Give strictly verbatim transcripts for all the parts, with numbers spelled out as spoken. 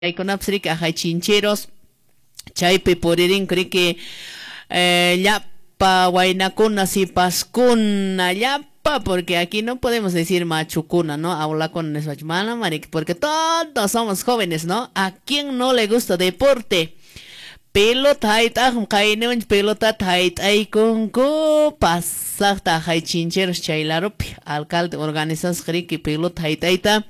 Chaykunapas riki ahay Chincheros chaypi puririnku riki eh, llapa waynakuna, sipaskuna, llapa, porque aquí no podemos decir machukuna, ¿no? Aulakuna nispachu, mana mariki, porque todos somos jóvenes, ¿no? ¿A quién no le gusta deporte? Pelota hayt'aqmi qayniwanchik pelotata hayt'aykunku pasaqta ahay Chincheros chay larupi alcalde organizasqa riki pelota hayt'ayta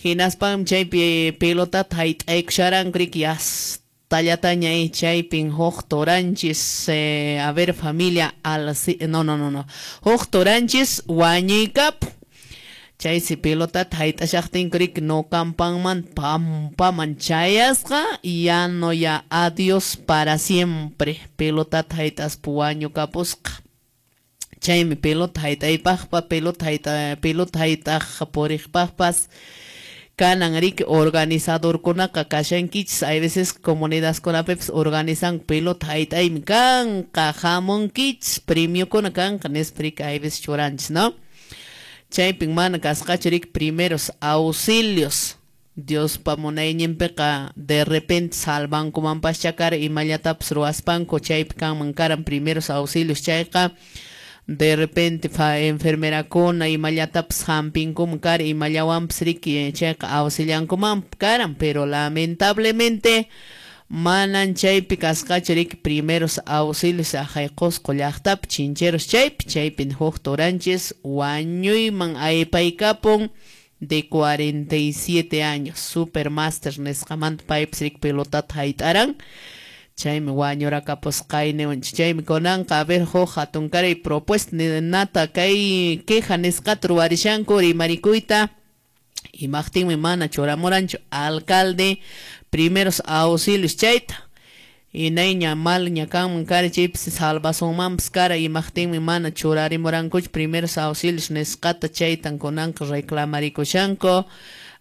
hinaspanmi chaypi pelotata hayt'aykusharanku riki yastallataña chaypin huk turanchis eh, a ver familia al no no no no huk turanchis wañuykapun chaysi pelotata hayt'ashaqtinku riki nukampanman pampaman chayasqa ya no ya adiós para siempre pelotata hayt'aspa wañukapusqa chaymi pelota hayt'aypaqpa pelota hayt'a pelota hayt'aq puriqpaqpas kanan riki organizadorkunaqa kashankichis hay veces comunidadkunapipas organizanku pelota hayt'aymi kanqa hamunkichis premiokuna kanqa nispa riki hay veces churanchis, ¿no? Chaypin mana kasqachu riki primeros auxilios Diospa munayninpiqa de repente salvankumanpaschá kara imallatapas ruwaspanku chaypi kanman karan primeros auxilios chayqa de repente fa enfermerakuna imallatapas hampinkuman kara imallawanpas riki chayqa auxiliankuman karan pero lamentablemente manan chaypi kasqachu riki primeros auxilios ahay Qusqu llaqtapi Chincheros chaypi chaypin huk turanchis wañuyman aypaykapun de cuarenta y siete años supermaster nisqamanta paypas riki pelotata hayt'aran chaymi wañurakapusqayniwanchik chaymi kunanqa a ver huk hatunkaray propuesta nata kay queja nisqata ruwarishanku rimarikuyta imaqtinmi mana churamuranchu alcalde primeros auxilios chayta inayña malña kanman kara chaypis salvasunmanpas kara imaqtinmi mana churarimurankuchu primeros auxilios nisqata chaytan kunanqa reclamarikushanku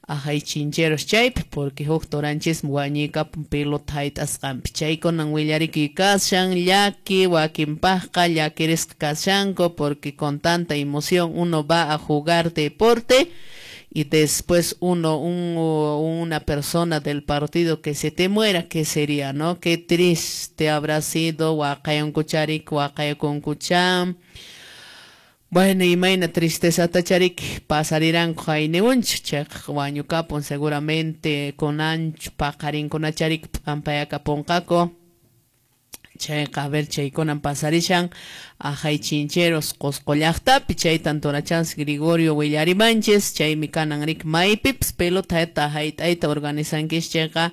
ahay Chincheros chaypi porque huk turanchismi wañuykapun pelota hayt'asqanpi chaykunan willarikuy kashan llaki wakinpaqqa llakirisqa kashanku porque con tanta emoción uno va a jugar deporte y después uno, un, una persona del partido que se te muera, ¿qué sería, no? Qué triste habrá sido, waqayunkucharik, waqayunkucham. Bueno, imayna tristeza tacharik pasariranku hayniwanchik chayqa wañukapun seguramente kunanchu paqarinkunacharik p'ampayakapunqaku. Chayqa a ver chaykunan pasarishan ahay Chincheros Qusqu llaqtapi chaytan turachans Gregorio willarimanchis chaymi kanan riki maypipas pelota hayt'ayta organizankichis chayqa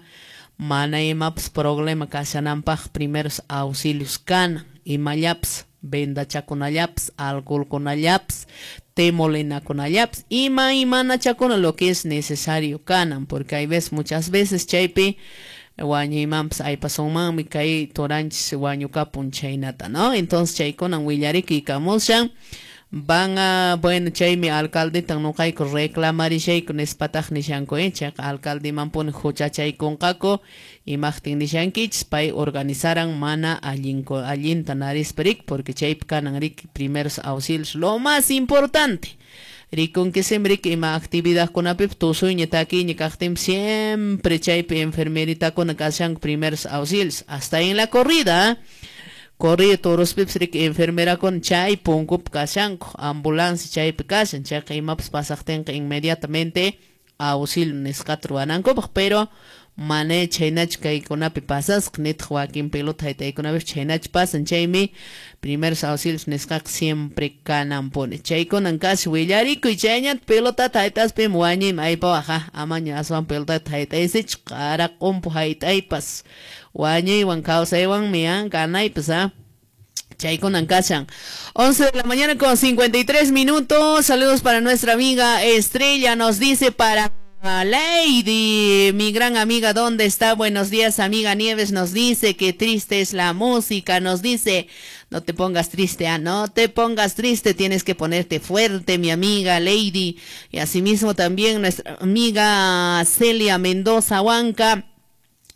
mana imapas problema kashananpaq primeros auxilios kanan imallapas vendachakunallapas alcoholkunallapas temolinakunallapas ima imanachakuna lo que es necesario kanan porque hay veces muchas veces chaypi wañuymanpas aypasunmanmi kay turanchis wañukapun chaynata, ¿no? Entonces chaykunan willarikuykamushan van a, bueno, chaymi alcaldetan nuqayku reclamarishayku nispataq nishanku, eh, chayqa alcaldemanpuni huchachaykunqaku imaqtin nishankichis pay organizaran mana allinku allinta narispa riki porque chaypi kanan riki primeros auxilios lo más importante rikunkisim riki ima actividadkunapipas tusuyña takiyña kaqtinpas siempre chaypi enfermeritakuna kashanku primeros auxilios hasta en la corrida corrida torospipas riki enfermerakuna chay punkupi kashanku ambulancia chaypi kashan chayqa imapas pasaqtinqa inmediatamente auxilio nisqata ruwanankupaq pero mana chaynachu kaykunapi pasasqa nitaq wakin pelota hayt'aykunapipas chaynachu pasan chaymi primeros auxilios nisqaqa siempre kananpuni chaykunan kasi willarikuy chayñata pelotata hayt'aspimi wañuymi aypawaq amaña aswan pelotata hayt'aysichu qara q'umpu hayt'aypas wañuywan kawsaywanmi ah ganaypas ah Chaykunan kashan. once de la mañana con cincuenta y tres minutos. Saludos para nuestra amiga Estrella. Nos dice para Lady, mi gran amiga, ¿dónde está? Buenos días, amiga Nieves. Nos dice que triste es la música. Nos dice, no te pongas triste, ah, no te pongas triste, tienes que ponerte fuerte, mi amiga Lady. Y asimismo también nuestra amiga Celia Mendoza Huanca.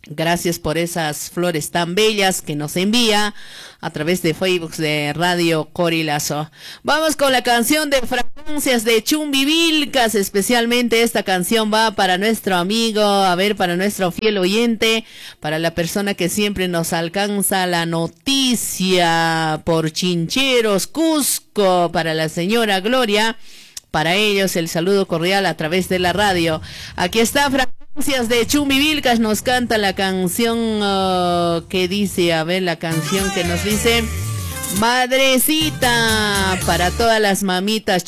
Gracias por esas flores tan bellas que nos envía a través de Facebook de Radio Qorilazo. Vamos con la canción de Fragancias de Chumbivilcas. Especialmente esta canción va para nuestro amigo, a ver, para nuestro fiel oyente, para la persona que siempre nos alcanza la noticia por Chincheros, Cusco, para la señora Gloria. Para ellos el saludo cordial a través de la radio. Aquí está Fragancias de Chumbivilcas, nos canta la canción uh, que dice, a ver, la canción que nos dice Madrecita, para todas las mamitas.